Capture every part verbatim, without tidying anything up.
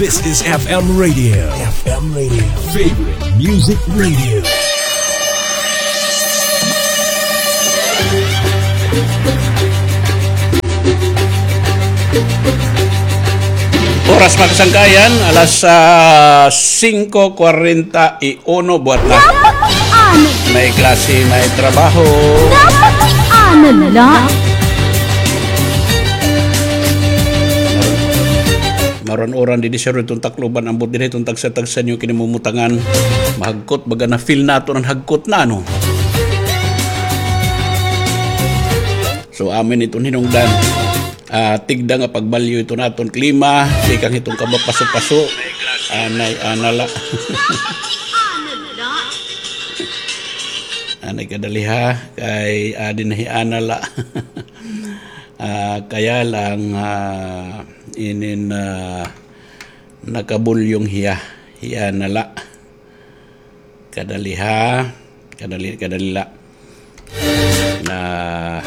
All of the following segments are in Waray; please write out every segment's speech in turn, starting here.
This is F M Radio. F M Radio. Favorite Music Radio. Oras, mga kasangkayan, alas, ah, singko kwarenta y uno buhat na. Dapat ano? May klase, may trabaho. Dapat ano la? Maran-uran didi, sir, iton Tacloban, ambot didi iton tagsa-tagsa niyo kinamumutangan. Mahagkot, baga na-feel naton an hagkot na, ano? So, amin iton hinungdan. Ah, tigda nga pagbalyo iton aton klima, tikang hiton kabapaso-paso. Anay, ana la. Anay kadali ha, kay adi na hi ana la. Ah, kaya lang, ah, inin, ah, nakabulyong hiya, hiya na la. Kadali ha, kadali, kadali la. Ah,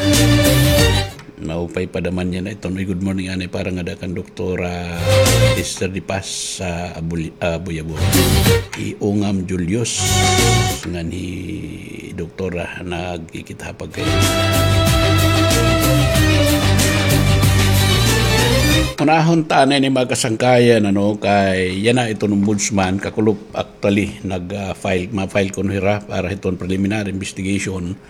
maupay pa daman niya na iton. Uy, good morning, anay, para ngada kan Doktora Esther Di Paz sa Abuli-, ah, Buyabon. Hi Ungam Julius, ngan hi Doktora, nagkikita ha pagkain. Unahon ta anay ini, mga kasangkayan, ano, kay yana iton ombudsman, kakulop, actually, nag, ah, file, ma-file kuno hira para hiton preliminary investigation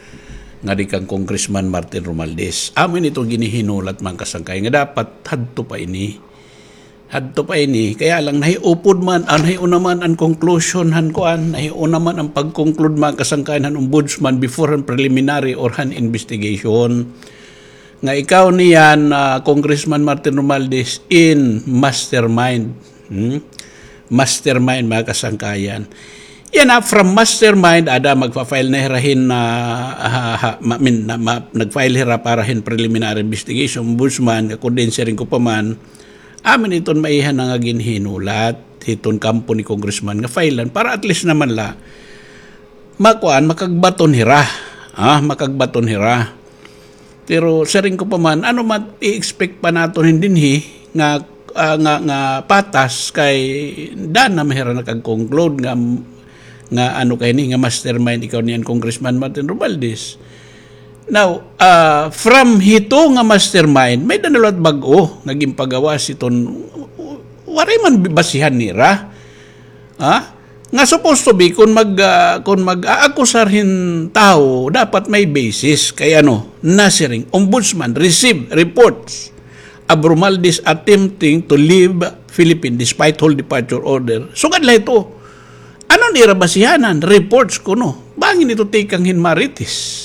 ngadi kan Congressman Martin Romualdez. Amo ini iton ginihinulat, mga kasangkayan, nga dapat hadto pa ini. Hadto pa ini, kaya lang nahiupod man, ah, nahiuna man an conclusion han kuan, nahiuna man an pag-conclude, mga kasangkayan, han ombudsman before han preliminary or han investigation. Nga ikaw niyan, ah, Congressman Martin Romualdez, in mastermind. Hmm? Mastermind, mga kasangkayan. Yana, from mastermind, ada magfa-file na hira hin, ah, ha, ha, ma-, min-, na, ma-, nag-file hira para hin preliminary investigation, ombudsman, nga kon diin siring ko pa man, amin iton maiha na nga ginhinulat hiton kampo ni Congressman nga file-an para at least naman la makuan, makagbaton hira. Ah, makagbaton hira. Pero siring ko pa man, ano man i-expect pa naton hin dinhi nga, ah, nga, nga patas kay daan na man hira nakag-conclude nga, nga ano kay ni, nga mastermind ikaw niyan Congressman Martin Romualdez. Now, ah, from hito nga mastermind, may-ada na liwat bag-o nga ginpagawas hiton, waray man basihan nira. Ha? Nga supposed to be, kon mag, ah, kon mag-aakusar hin tawo, dapat may basis. Kay ano, nasiring, Ombudsman receive reports of Romualdez attempting to leave Philippines despite hold departure order. Sugad la ito. Ano nira basihanan? Reports kuno. Bangin ito tikang hin Marites.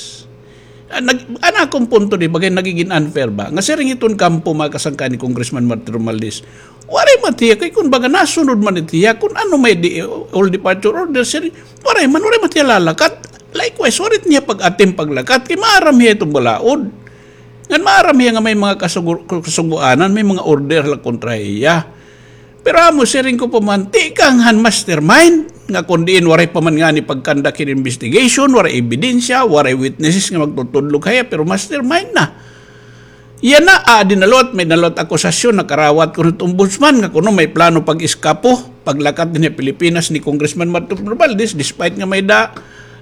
Ah, nag-, an akon punto di, bagay nagigin unfair ba? Nga siring iton kampo, mga kasangkayan, ni Congressman Martin Romualdez. Waray man hiya, kay kon baga nasunod man it hiya, kon ano may di, all departure order, siring, waray man, waray man hiya lalakat. Likewise, waray hiya pag-attempt paglakat, kay maaram hiya iton balaod. Ngan maaram hiya nga may mga kasugo-, kasugoanan, may mga order la kontra hiya. Pero amo, siring ko pa man, tikang han mastermind, nga kon diin waray pa man ngani pag-conduct hin investigation, waray ebidensya, waray witnesses nga magtutudlog ha iya, pero mastermind na. Yana, ah, di na liwat, may-ada na liwat akusasyon, nakarawat kuno it ombudsman, nga kuno may plano pag-eskapo, paglakat dinhi ha Pilipinas ni Congressman Martin Romualdez, despite nga may-ada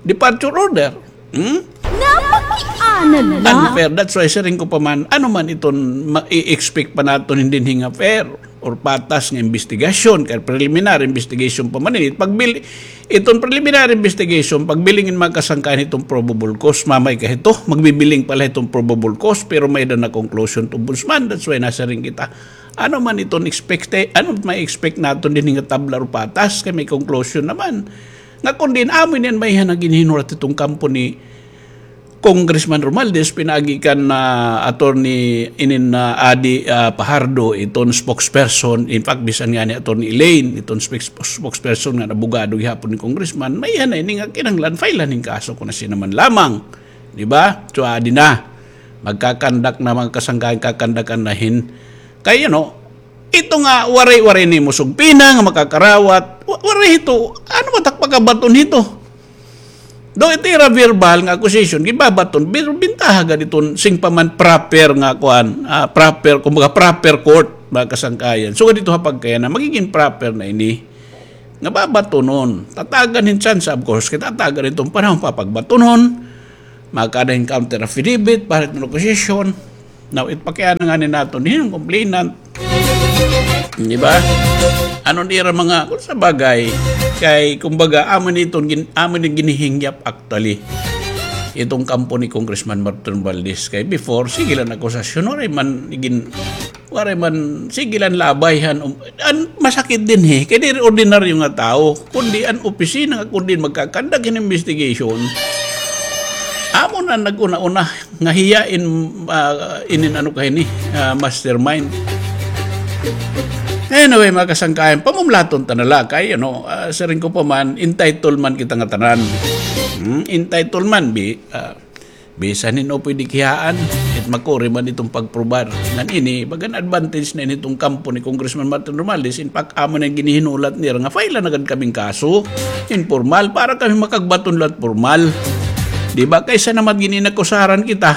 departure order. Hmm? Napakiana la. Unfair. That's why siring ko pa man, ano man iton ma-, i-expect pa naton hin dinhi nga fair or patas nga investigasyon, kay preliminary investigation pa man ini. Pagbil-, iton preliminary investigation, pagbiling hin mga kasangkayan hiton probable cause, mamay ka hito, magbibiling pa la hiton probable cause, pero may-ada na conclusion it ombudsman. That's why nasiring kita. Ano man iton expecte-, ano may expect naton dinhi nga tabla or patas, kay may conclusion naman. Nga kon diin amo ini an maiha na ginhinulat hiton kampo ni Congressman Romualdez, pinaagi kan, ah, attorney inin, ah, Adi, ah, Fajardo, iton spokesperson, in fact, bisan ngani attorney Elaine, iton spokes-, spokesperson ngan abogado gihapon ni Congressman, maiha na ini nga kinahanglan file-an hin kaso kon asya na man lamang. Di ba? So, adi na. Magkakandak na, mga kasangkayan, kakandakan na hin. Kay, you know, ito nga, waray, waray nimo sugpina nga makakarawat. Wa-, waray hito. Ano ba it ak pagkabaton hito? Daw ito ira verbal nga accusation, gibabaton, pero bintaha gad iton siring pa man proper nga kuan, ah, proper, kumbaga proper court. mga kasangkayan. So, ganito ha pagkayana, magiging proper na ini. Nga babatonon. Tatagan hin tsansa, of course, kay tatagan iton panahon papagbatonon. Makada hin counter affidavit, para hin accusation. Now, it pakiana nga ni naton, hin complainant. Di ba? Ano nira mga, kung sa bagay, kay, kumbaga, amo ni iton gin-, amo ni ginihingyap actually. Itong kampo ni Congressman Martin Romualdez. Kay before, sige lang akusasyon, waray man gin-, waray man, sige lang labay han, um, an masakit dinhi, kay diri ordinaryo nga tawo, kundi an opisina nga kundi magkakandak hin investigation. Amo na nag-una-una nga hiya in, ah, inin ano ka hini, ah, mastermind. Anyway, mga kasangkayan, pamumlaton ta na la kay, you know, ah, siring ko pa man, entitled man kita nga tanan. Hmm? Entitled man, bi-, ah, bisan hin-o pwede kiyaan, it makuri man iton pagprobar. Ngan ini, bagan advantage na ini iton kampo ni Congressman Martin Romualdez, in fact, amo na ginihinulat nira nga file na gad kaming kaso, informal, para kami makagbaton la hit formal. Di ba? Kaysa naman gininakusaran kita,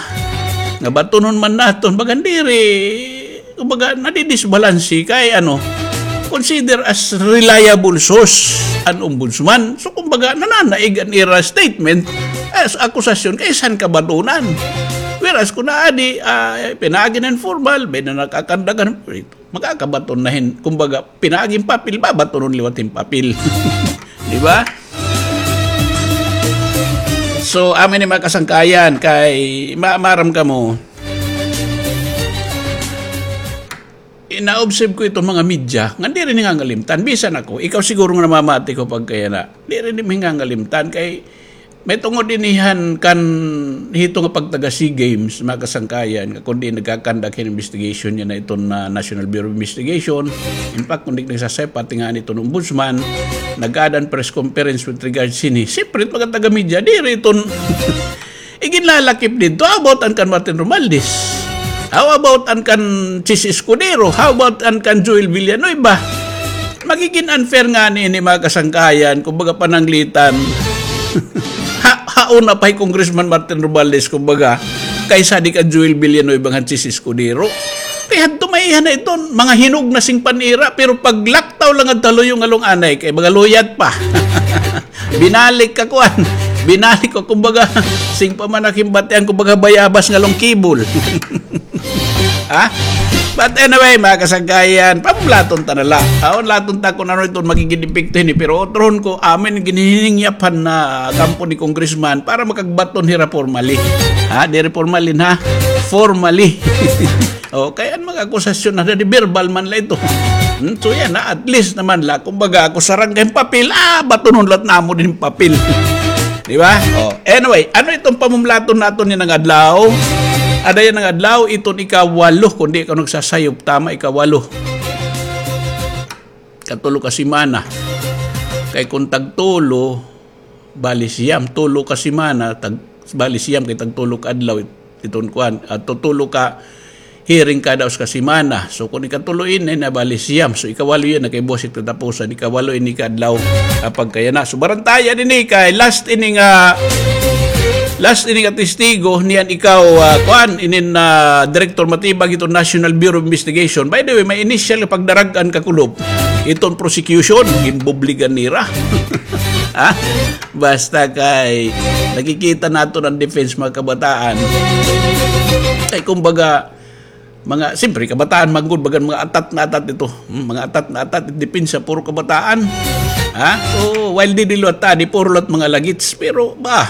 nga batonon man naton, bagan diri, kumbaga, nadidisbalanse kay, ano, consider as reliable source an ombudsman. So, kumbaga, nananaig an ira statement as akusasyon kay san kabatonan. Whereas, kung naadi, ah, pinaagi na informal, may na nakakandagan, makakabaton na hin, kumbaga, pinaaging papel, babatonon liwat hin papel. Di ba? So, amin ni mga kasangkayan, kay ma-, maaram kamo, Ina-observe ko iton mga media, nga diri nangangalimtan. Bisan ako, ikaw siguro nga namamati ko pagkayana, diri nangangalimtan kay may tungod ini han kan hito nga pagtaga SEA Games, mga kasangkayan, nga kundi nagkakandak hin investigation niya na iton na National Bureau of Investigation. In fact, kundi nagsasay, pati nga iton ombudsman, nag-aada hin press conference with regards hini. Siyempre, mga taga-media, diri iton Iginlalakip didto, how about an kan Martin Romualdez? How about an kan Chiz Escudero? How about an kan Joel Villanueva? Magigin unfair ngani ini, mga kasangkayan, kumbaga pananglitan. Ha, hauna pa hi Congressman Martin Romualdez, kumbaga, kaysa di kan Joel Villanueva ngan Chiz Escudero. Kay hadto maiha na iton, mga hinog na singpa nira, pero paglaktaw la ngadto ha luyo nga lunganay, kay mga luyat pa. Binalik ka, kuan. Binalik ko, kumbaga, singpa man ak hin batian, kumbaga, bayabas nga lungkibol. Ha? But anyway, mga kasangkayan, pamulaton ta na la. Aw, laton ta kung ano iton magigin epekto hini, pero otrohon ko, amin ginhihingyap han, ah, kampo ni Congressman para makagbaton hira formally. Ha? Diri formally, ha? Formally. O, kay an mga akusasyon na di verbal man la ito. Hmm, so yana, at least naman la, kumbaga, ako sarang kay papel, ah, batunon lat namo din papel. Di ba? O, anyway, ano itong pamumlaton naton ni nga adlaw? Ada yana nga adlaw, iton ikawalo, kundi ikaw nagsasayop, tama, ikawalo. Katulo ka semana. Kay kung tagtulo, bali siyam, tulo ka semana, tag-, bali siyam kay tagtulo ka adlaw, it-, iton kuan, ah, tutulo ka hearing kada usa ka semana. So, kung ikatulo ini na bali siyam. So, ikawalo yana kay buwas it katapusan, ikawalo ini ka adlaw, ah, pagkayana. So, barantayan ini kay last ini nga, last ini nga testigo, niyan ikaw, ah, kuan, inin, ah, Director Matibag iton National Bureau of Investigation. By the way, may initial nga pagdarag-an, Kakulop. Iton prosecution, ginbubligan nira. Ha? Basta kay nakikita naton an defense, mga kabataan. Kay kumbaga, mga, siyempre, kabataan man gud, bagan mga atat na atat ito. Hmm, mga atat na atat, depensa, puro kabataan. Ha? Oo, while didi liwat ta, di puro liwat mga lagits. Pero, ba,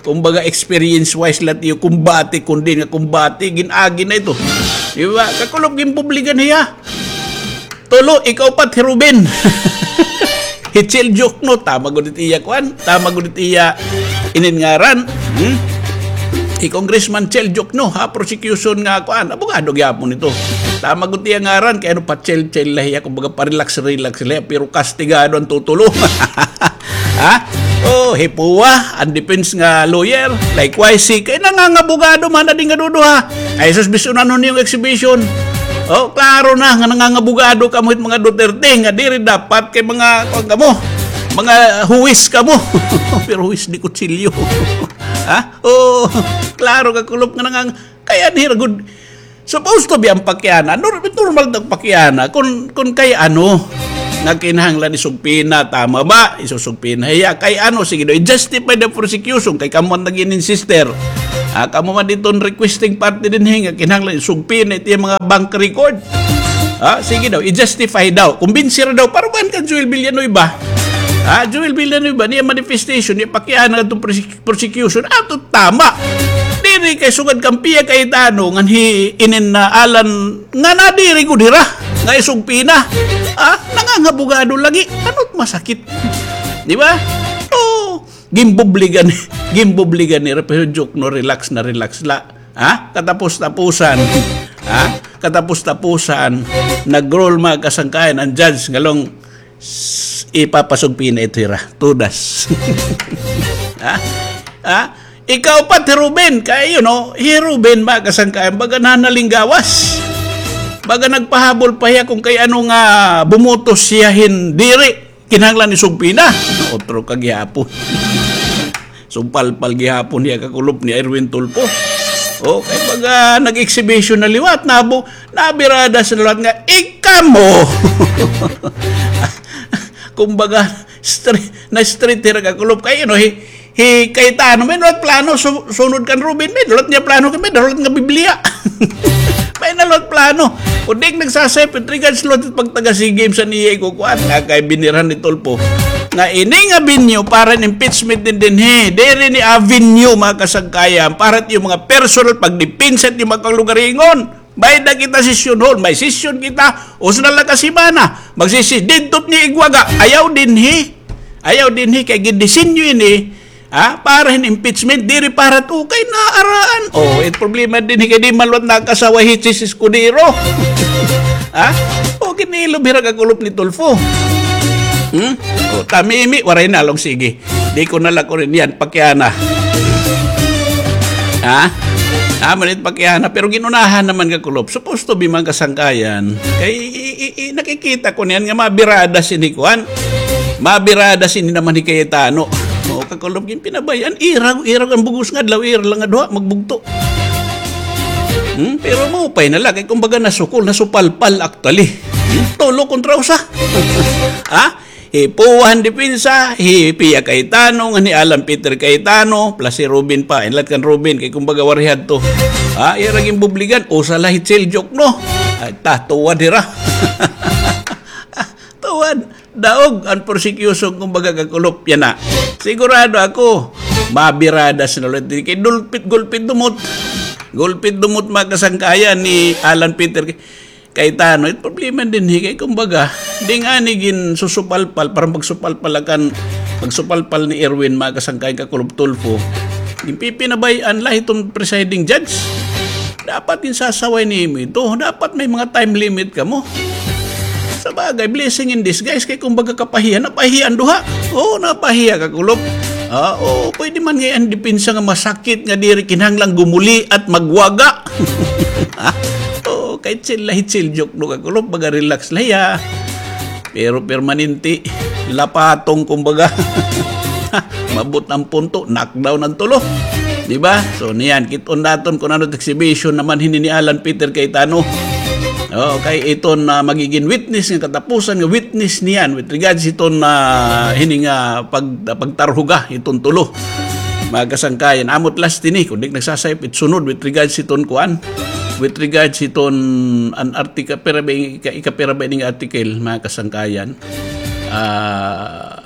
kumbaga, experience-wise liwat iyo kumbati, kundi nga kumbati, gin-agi na ito. Di ba? Kakulop, ginbubligan hiya. Tulo, ikaupat, hi Ruben. Hi Chel Diokno, tama gud it iya, kuan, tama gud it iya inin ngaran. Hmm? Hi Congressman Chel Diokno, ha, prosecution nga, kuan, abogado gyapon ito. Tama gud iya ngaran, kay ano pa Chel, Chel la hiya, kumbaga pa-relax, relax la hiya, pero kastigado an tutulo. Ha? Oh, hi Pua, an defense nga lawyer. Likewise, si, kay nangangabogado man, adi nga duduha. Ay, sus, bisan ano niyong exhibition. Oh, klaro na, nga nangangabogado kamo hit mga Duterte, nga diri dapat kay mga, kuan kamo, mga huwis kamo. Pero huwis de kutsilyo. Ha? Oh, klaro, Kakulop, nga nangang-, kay anhi ra gud, Supposed to be an pakiana. Nor-, normal daw pakiana. Kun, kun kay ano, nga kinahanglan isugpina, tama ba? Isusugpina hiya. Kay ano, sige daw, i-justify the prosecution. Kay kamo an nag-insister. Ah, kamo man iton requesting party dinhi nga kinahanglan isugpina it iya mga bank record. Ah, sige daw, i-justify daw. Kumbinsi ra daw. Para kuan kan Joel Villanueva. Ah, Joel Villanueva, niya manifestation, niya pakiana ngadto prosec-, prosecution. Ato tama. Diri kay sugad kan Pia Cayetano, ngan hi inin na Alan, nga nadiri gud hira, nga isugpina. Ah, nangangabugado lagi. Ano't masakit? Di ba? So, gimbubligan, gimbubligan nira, pero joke, no, relax na relax la. Ha? Katapos-tapusan. Ha? Katapos-tapusan, nag-rule, mga kasangkayan, an judge ngalong, s-, ipapasugpina ito hira. Tudas. Ha? Ha? Ikaw pa, hi Ruben. Kay, you know, hi Ruben, mga kasangkayan, baga nanalinggawas. Baga nagpahabol pa hiya kung kay ano nga bumutos hiya hin diri. Kinahanglan isugpina. Otro ka gihapon. Sugpalpal gihapon hiya, kakulop, ni Erwin Tulfo. O, kay baga nag-exhibition na liwat, nabu-, nabirada sa liwat nga, "Ikamo!" Kumbaga, stre-, na-straight hira, kakulop. Kay, you know, hi, hi Cayetano, may nahulat plano, su-, sunod kan Ruben, may nahulat niya plano, may nahulat nga Biblia. May nahulat plano. Kun di nagsasayop, it regards liwat pagtaga-SEA Games an iya ikukuan. Nga kay binirhan ni Tulfo. Nga ini nga venue para hin impeachment dinhi. Diri ini avenue, mga kasangkayan, para it iyo mga personal pagdepensa it iyo mga kalugaringon. May-ada kita session hall, may session kita, usa na la ka semana. Magsisi-, didto it niya igwaga. Ayaw dinhi. Ayaw dinhi kay gidisenyo ini, ha, para hin impeachment, diri para to kay naaraan. O, it problema dinhi kay di man liwat nakasaway hi Chiz Escudero. Ha? O, kinilob hira, kakulop, ni Tulfo. Hmm? O, tamimi, waray na, long, sige. Di ko na la kuan niyan, pakiana. Ha? Amo na it pakiana, pero gin-unahan naman, kakulop. Supposed to be, mga kasangkayan. Kay, i-, i-, i-, nakikita ko niyan nga mabirada sini kuan. Mabirada sini naman hi Cayetano. O, kakulop, ginpinabay-an. Ira, ira an bug-os nga adlaw, ira la nga duha, magbugto. Hmm? Pero maupay na la, kay kumbaga nasukol, nasupalpal actually. Hmm? Tulo kontra usa. Ha? Hi Pua han depensa, hi Pia Cayetano, ngan hi Alan Peter Cayetano, plus hi Ruben pa. Inlat kan Ruben, kay kumbaga waray hadto. Ha, ira ginbubligan, usa la hi Chel Diokno. Ay, ta, tuwad hira. Tuwad, daog an prosecution, kumbaga, kakulop yana. Sigurado ako, mabirada sina ulit. Kay dulpit, gulpit dumot. Gulpit dumot, mga kasangkayan, ni Alan Peter Cayetano, it problema dinhi kay kumbaga, di ngani ginsusupalpal, parang pagsupalpal kan, pagsupalpal ni Erwin, mga kasangkayan, kakulop, Tulfo. Ginpipinabay-an la hiton presiding judge. Dapat ginsasaway nimo ito. Dapat may mga time limit kamo. Sabagay, blessing in disguise kay kumbaga kapahiya, napahiya an duha. Oo, napahiya, kakulop. Ah, oo, pwede man ngay-an depensa nga masakit nga diri kinahanglan gumuli at magwaga. Ha? Oo, kay chill la hi Chel Diokno, kakulop, baga relax la hiya. Pero permanente, lapatong kumbaga. Mabot an punto, knockdown an tulo. Di ba? So, niyan, kit-on naton kun ano exhibition naman hini ni Alan Peter Cayetano. Oo, kay iton, ah, magigin witness nga katapusan nga witness niyan with regards hiton, ah, hini nga pag-, pagtarhuga hiton tulo. Mga kasangkayan, amo it last ini, kun di nagsasayop it sunod with regards hiton kuan, with regards hiton an article, pira ba, ika-, ikapira ba ini nga article, mga kasangkayan? Ah,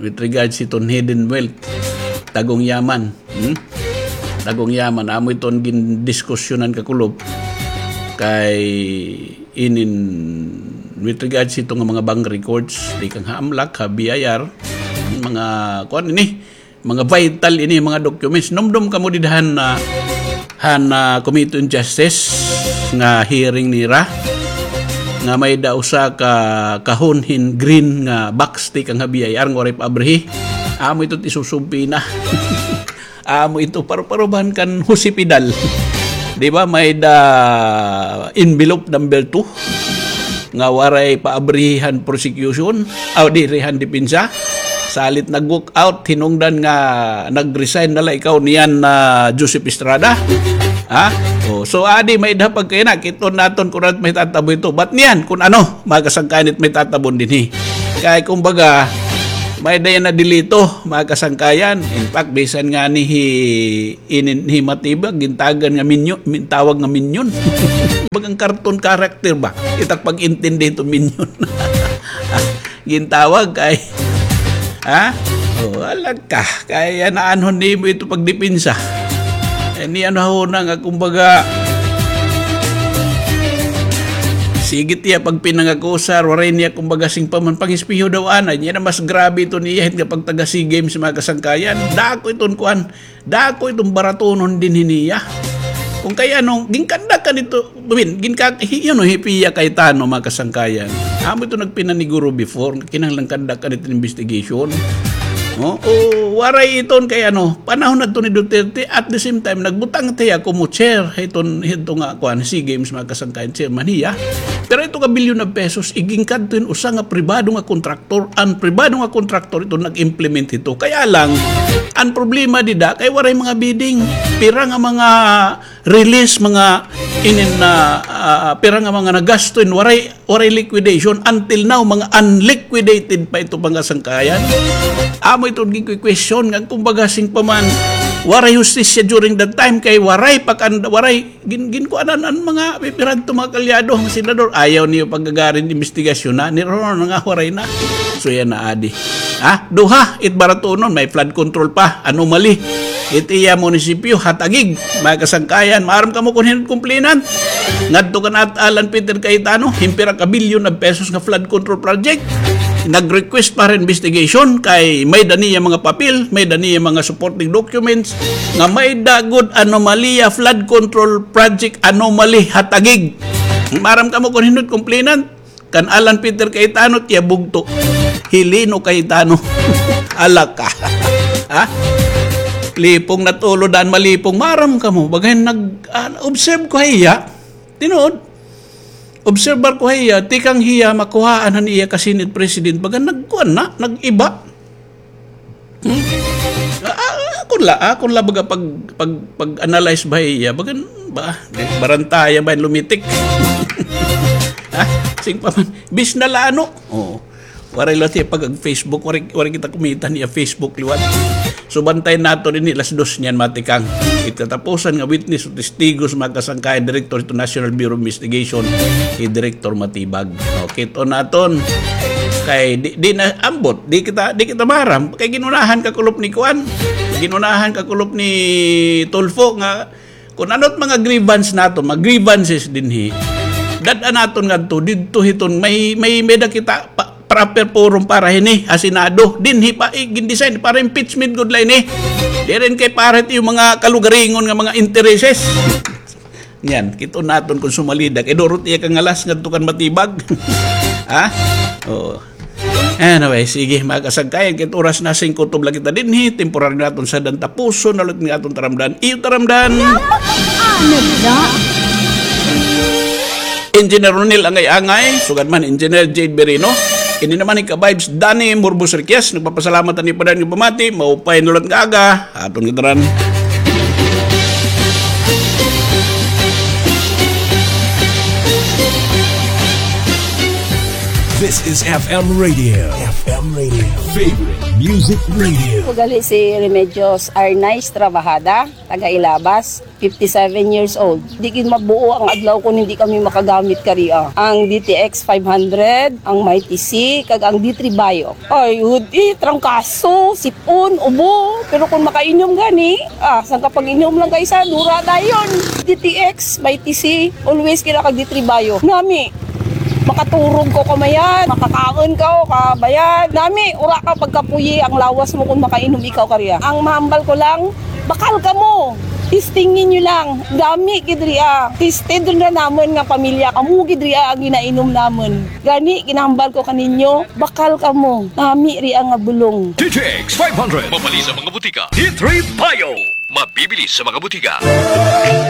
with regards hiton hidden wealth, tagong yaman. Hmm? Tagong yaman, amo iton gindiskusyonan, kakulop. Kay inin, with regards hito nga mga bank records, tikang ha AMLAC, ha B I R, mga, kuan ini, mga vital ini, mga documents. Numdom kamo dida han, ah, han, ah, Committee on Justice nga hearing nira, nga may-ada usa ka kahon hin green nga box tikang ha B I R nga waray pa abrihi. Amo ito it isusubpina. Amo ito, paru-parubahan kan Jose Pidal. Di ba, may-ada envelope number two nga waray pa abrihi han prosecution, aw, diri, han depensa. Salit nag-walk out, hinungdan nga nag-resign na la ikaw niyan na Joseph Estrada. Ha? O, so, adi, may-ada pagkayana, kit-on naton kun ano it mahitatabo hito. But niyan, kun ano, mga kasangkayan, it mahitatabo dinhi. Kay, kumbaga, may-ada yana dilito, mga kasangkayan. In fact, bisan ngani hi, inin, hi Matibag, gintagan nga minyo-, min-, tawag nga minyon. Bagang cartoon character ba? It ak pag-intindi hito minyon. Gintawag kay, ha? O, alagka. Kay naanhon nimo ito pagdepensa. Eh, ni ano ho na nga, kumbaga, sige tiya pagpinangakusar, waray niya, kumbaga, sing pa man, pangispiyo daw, anay. Niya na mas grabe ito niya, hit nga pagtaga SEA Games, mga kasangkayan. Dako iton kuan, Dako iton baratunon dinhi niya. Kun kay ano, ginkandak ka dito, I mean, ginka-, hi-, you know, hi Pia Cayetano, mga kasangkayan. Amo ito nagpinaniguro before, kinahanglan kandak ka dito investigation. No? O, waray iton kay ano, panahon na to ni Duterte, at the same time, nagbutang tiya kumo chair, hiton, hito nga, kuan, SEA Games, mga kasangkayan, chairman hiya. Pero ito ka billion of pesos, iginkadto hin usa nga pribado nga kontraktor, an pribado nga kontraktor ito nag-implement hito. Kaya lang, an problema dida, kay waray mga bidding. Pira nga mga release, mga inin na, ah, pira nga mga nagasto in waray, waray liquidation. Until now, mga unliquidated pa ito, mga sangkayan. Amo ito, gi-question nga, kumbaga, sing pa man, waray hustisya during that time, kay waray pa kan-, waray Gin-, ginkuanan an mga pipiradto, mga kaalyado, mga senador. Ayaw niyo pagagarin investigasyon na, ni Ron nga waray na. So, yana adi. Ha? Duha, it baratunon, may flood control pa, anomaly. It iya munisipyo, ha Taguig, mga kasangkayan. Maaram kamo kun hin-o it complainant. Ngadto kan At Alan Peter Cayetano, hin pira ka billion of pesos nga flood control project. Nag-request pa hin investigation kay may-ada niya mga papel, may-ada niya mga supporting documents, nga may-ada gud anomalya flood control project anomaly ha Taguig. Maaram kamo kun hin-o it complainant? Kan Alan Peter Cayetano, tiya bugto. Hi Lino Cayetano. Alagka. Ha? Lipong natulod an malipong. Maaram kamo, baga hin nag-, ah, observe ko ha iya. Tinuod. Obserbar ko ha iya, tikang hiya makuhaan han iya ka Senate President, baga nagkuan na, nag-iba. Hmm? Ah, ah, akon la, akon la baga pag, pag, pag-analyze ba iya, baga, ba, barantayan ba lumitik? Ha? Sing pa man, bis na la ano? Oo. Waray la tiya pag-ag-Facebook, waray, waray kita kumita niya Facebook liwat. So, bantayan naton ini las dos niyan, matikang. It katapusan nga witness o testigos, mga kasangkayan, direktor hito National Bureau of Investigation, hi Director Matibag. O, kit-on naton. Kay di, di na ambot, di kita, di kita maaram. Kay ginunahan kakulop ni kuan, ginunahan kakulop ni Tulfo nga kun ano it mga grievance naton, mga grievances dinhi. Dad-a naton ngadto, didto hiton, may, may, may-ada kita pa, proper forum para hini, ha Senado. Dinhi pa, eh, gin-design para impeachment gud la ini. Diri kay para it iyo mga kalugaringon nga mga intereses. Niyan, kit-on naton kun sumalida. Kay duro it iya kangalas ngadto kan Matibag. Ha? Oo. Anyway, sige, mga kasangkayan, kay it oras na, singko, tubla kita dinhi, temporary naton sadyan, tapuson na la it aton taramdan. Iyo taramdan. Ano da? Engineer Ronel Angay-Angay, sugad man Engineer Jade Berino. Ini naman hi ka-vibes Danny Murbos Requias, nagpapasalamat han iyo padayon nga pamati, maupay nga liwat nga aga. Aton gitaran. This is F M Radio. F M Radio. Favorite Music Radio. Ako gali si Remedios Arnaiz Trabajada, taga Ilabas, fifty-seven years old. Di gid mabuo ang adlaw kon hindi kami makagamit karia. Ang D T X five hundred, ang Mighty C, kag ang D three Bio. Ay, hudi, trangkaso, sip-on, ubo. Pero kon makainom gani, ah, sangka pag-inom lang kay isa, dura dayon. D T X, Mighty C, always kira kag D three Bio. Nami, makaturog ka kamayad, makakaon ka o kabayad. Nami, ura ka pagkapuyi ang lawas mo kon makainom ikaw kariya. Ang mahambal ko lang, bakal kamo. Testingin niyo lang. Dami gid ria. Tested rin na namon nga pamilya. Amo gid ria ang ginainom namon. Gani, ginahambal ko kaninyo, bakal kamo. Nami ria nga bulong. D T X five hundred. Mabali sa mga butika. D three Bio. Mabibili sa mga butika.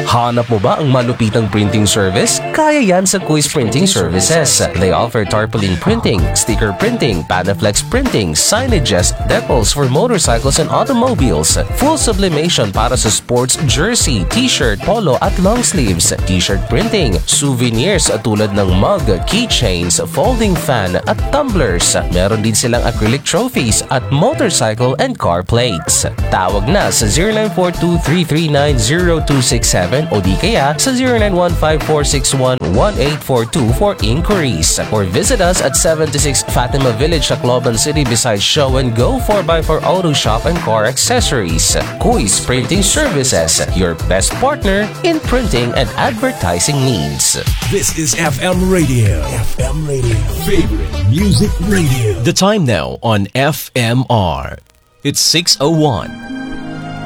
Hanap mo ba ang malupitang printing service? Kaya yan sa Kuis Printing Services. They offer tarpaulin printing, sticker printing, Panaflex printing, signages, decals for motorcycles and automobiles, full sublimation para sa sports jersey, t-shirt, polo at long sleeves, t-shirt printing, souvenirs tulad ng mug, keychains, folding fan at tumblers. Meron din silang acrylic trophies at motorcycle and car plates. Tawag na sa zero nine four two three three nine zero two six seven o di kaya sa zero nine one five four six one one eight four two for inquiries. Or visit us at seventy-six Fatima Village, Tacloban City, beside Show and Go four by four Auto Shop and Car Accessories. Kuis Printing Services, your best partner in printing and advertising needs. This is F M Radio. F M Radio. Favorite music radio. The time now on F M R. It's six oh one.